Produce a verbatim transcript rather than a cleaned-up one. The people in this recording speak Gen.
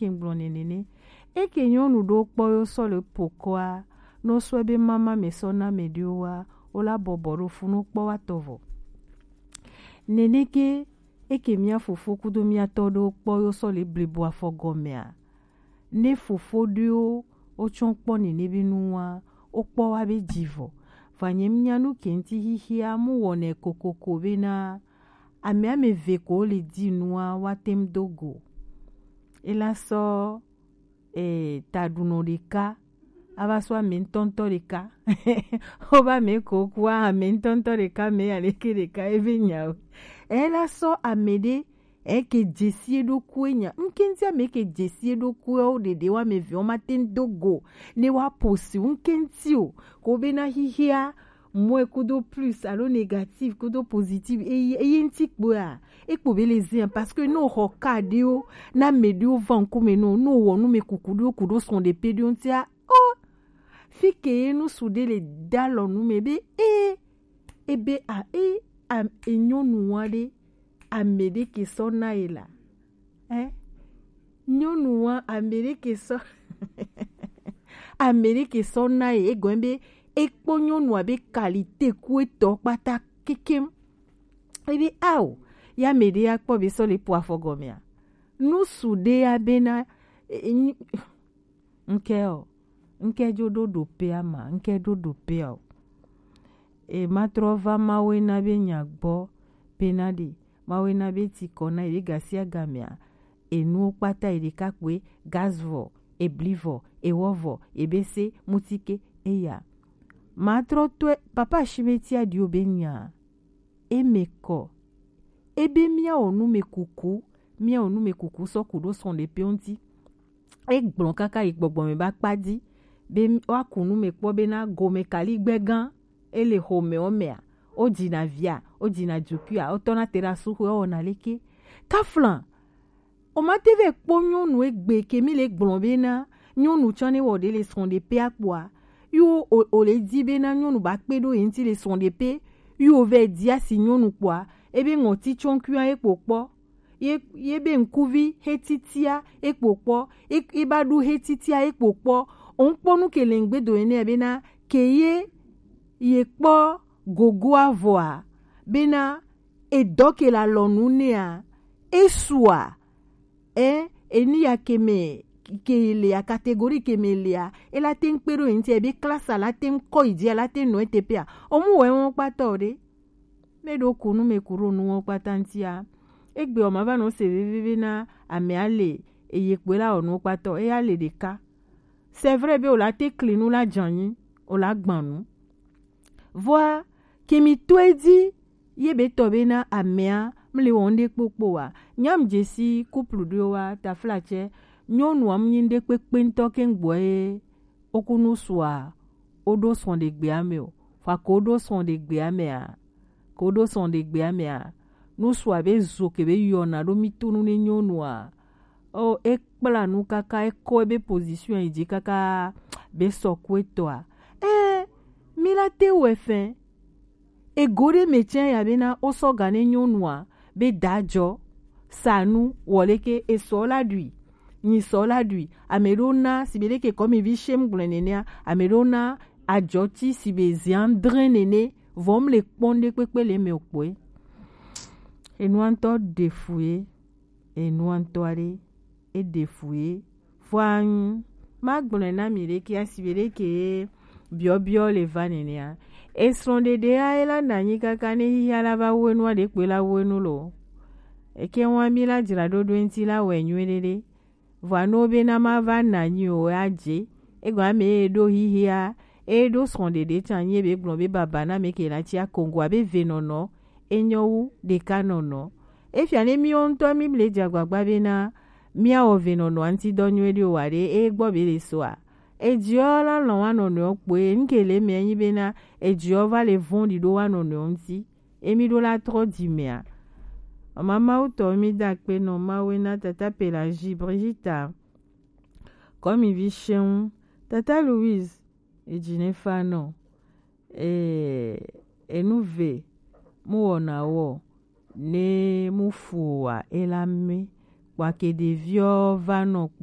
ke gblɔ nɛ nɛnɛ. Eke nyɔnu ɖo kpɔ yo sɔ le pokɔa, no sɔ be mama me sɔ na me ɖo wa, o la bɔbɔ ɖo funu kpɔ wa tɔvɔ. Nɛnɛ ke, eke mia fofo kudo mia tɔ ɖo kpɔ yo sɔ le blibo afɔ gɔmea. Ne fofo ɖo o tsɔ kpɔ nɛnɛ be nu wa, o kpɔ wa be jivɔ. Vanyɛ mia nu kenti xixia mu wɔnɛ kokoko be na ame ame ve ko le di nua wa tem do go. Ela sɔ eh, taɖunɔ ɖeka, ava sɔ ame ŋutɔŋutɔ ɖeka. Wobe ame ko kua ame ŋutɔŋutɔ ɖeka, ame aleke ɖeka ebe nyawo. Ela sɔ ame ɖe eke dzesi eɖokui nya. Ŋkenti ame ke dzesi eɖokui wo ɖeɖe wa ame ve wo ma te ŋ do go ne wa posi ŋkenti o. Ko be na xixia mɔe kudo plus alo négatif kudo positif eye eye ŋuti kpoa ekpo be le zia parce que ne o xɔ ka ɖewo na ame ɖewo va ŋkume no no wɔ nu me kuku ɖewo kuɖo sɔn ɖe pe ɖewo ŋutia o fi ke ye nu su ɖe le da lɔ nu me be e ebe a e a enyɔnu wa ɖe ame ɖe ke sɔ na ye la eh nyɔnu wa ame ɖe ke sɔ ame ɖe ke sɔ na ye egɔn be ekpɔ nyɔnua be kalite ku etɔ kpata kekem. Ebi ao ya me ɖe ya kpɔ be sɔ le po afɔ gɔmea nu su ɖe ya be na e, e, nyi- nke o nke dzo ɖo ɖo pea ma nke ɖo ɖo pea o e ma trɔ va mawe na be nya gbɔ pena ɖe mawe na be ti kɔ na ye be gasia gamea enuwo kpata yi ɖeka kpoe gaz vɔ ebli vɔ ewɔ vɔ ebese mutike eya. Matrɔ tɔe papa shimetia ɖiwo be nya eme kɔ ebe miawɔ nu me kuku miawɔ nu me kuku sɔ ku ɖo sɔn ɖe pe ŋuti egblɔ kaka yi gbɔgbɔ me ba kpa di be wa ku nu me kpɔ be na gome kali gbɛ gã ele xome wo mea wo dzina via wo dzina dzukuia wo tɔna te ɖe asuxu wo wɔna leke taflan O ma te vɛ kpɔ nyɔnu egbe ke mi le gblɔ be na nyɔnu tsɔ ne wɔ ɖe le srɔ̃ ɖe pe akpoa, yo o, o le di be na nyɔnu ba kpe ɖo ye ŋuti le srɔ̃ ɖe pe, yo vɛ di asi nyɔnu kpoa, ebe ŋɔti tsɔnkua ye kpo kpɔ, ye ye be ŋkuvi he titia ye kpo kpɔ, ye ye ba ɖu he titia ye kpo kpɔ, o ŋkpɔ nu ke le ŋgbe do ene be na ke ye ye kpɔ gogoa vɔa, be na edɔ ke le alɔnu nɛa, esua, ɛ, eniya ke me ke lea, catégorie ke me lea, ela te ŋ kpe ɖo ye ŋuti, ebe classe la te ŋ kɔ yi dzi, la te ŋ nɔ ete pea, omu wɔ ewɔn kpata o ɖe. Me ɖo ku nu me ku ɖo nu wɔ kpata ŋutia. Egbe o ma va nɔ se vevie be na amea le eye kpoe la wɔ nu wɔ kpata o, eya le ɖeka. C'est vrai be o la te kli nu la dzanyi, o la gban nu. Vɔa ke mi to edzi ye be tɔ be na amea mle wɔ ŋɖe kpokpo wa. Nyam dzesi couple ɖewo wa taflatsɛ nyɔnua mu nyi ŋɖe kpekpe ŋutɔ ke ŋgbɔ ye woku nu sua woɖo sɔn ɖe gbea me o. Fa ko woɖo sɔn ɖe gbea mea ko woɖo sɔn ɖe gbea mea nu sua be zo ke be yɔna ɖo mi tonu ne nyɔnua o ekpla nu kaka ekɔ ebe position yi dzi kaka be sɔ ku etɔa. Ɛ mi la te wɛ fɛn ego ɖe me tsɛ ya be na wo sɔ ga ne nyɔnua be da jɔ sa nu wɔ leke esɔ la ɖui nyi sɔ la ɖui ame ɖewo na si be leke kɔmi vi shem gblɔe nenea ame ɖewo na ajɔ ti si be zian dre nene vɔ m le kpɔn ɖe kpekpe le me o kpɔe enua ŋutɔ ɖe fu ye enua ŋutɔ aɖe eɖe fu ye. Vɔa ŋu magblɔe na mi ɖeke asi be ɖeke ye biɔbiɔ le va nenea. Esrɔ̃ɖeɖea ye la na anyi kaka ne xixia la va wu enua ɖekpe la wu enu lo. Eke wa mi la dzra ɖo ɖo ŋuti la wɛ nyuie ɖeɖe. Vɔa ne wo be na ma va na anyi o ya dze. Egɔme ame ye ɖo xixia eye ɖo srɔ̃ɖeɖe tsa anyi ebe gblɔ be baba na me ke la tsi akongo abe venɔnɔ enyɔ wu ɖeka nɔnɔ. Efia ne miwo ŋutɔ mi le dze agbagba be na miawɔ venɔnɔa ŋuti dɔ nyuie ɖe o wa ɖe eye gbɔ be le soa. Edziɔ la lɔn wa nɔnɔewo kpoe ŋke le mea nyi be na edziɔ va le vɔ̃ɖi ɖo wa nɔnɔewo ŋuti. Emi ɖo la trɔ dzi mea. Mama Mawu tɔ mi da akpe nɔ Mawu na tata Pelagie Brigitta. Kɔmivi Shɛŋu, tata Louise, edzi ne fa nɔ. Ee, enu ve mu wɔna wɔ ne mu fu wa ela mi kpɔ ake ɖeviɔ va nɔ kpɔ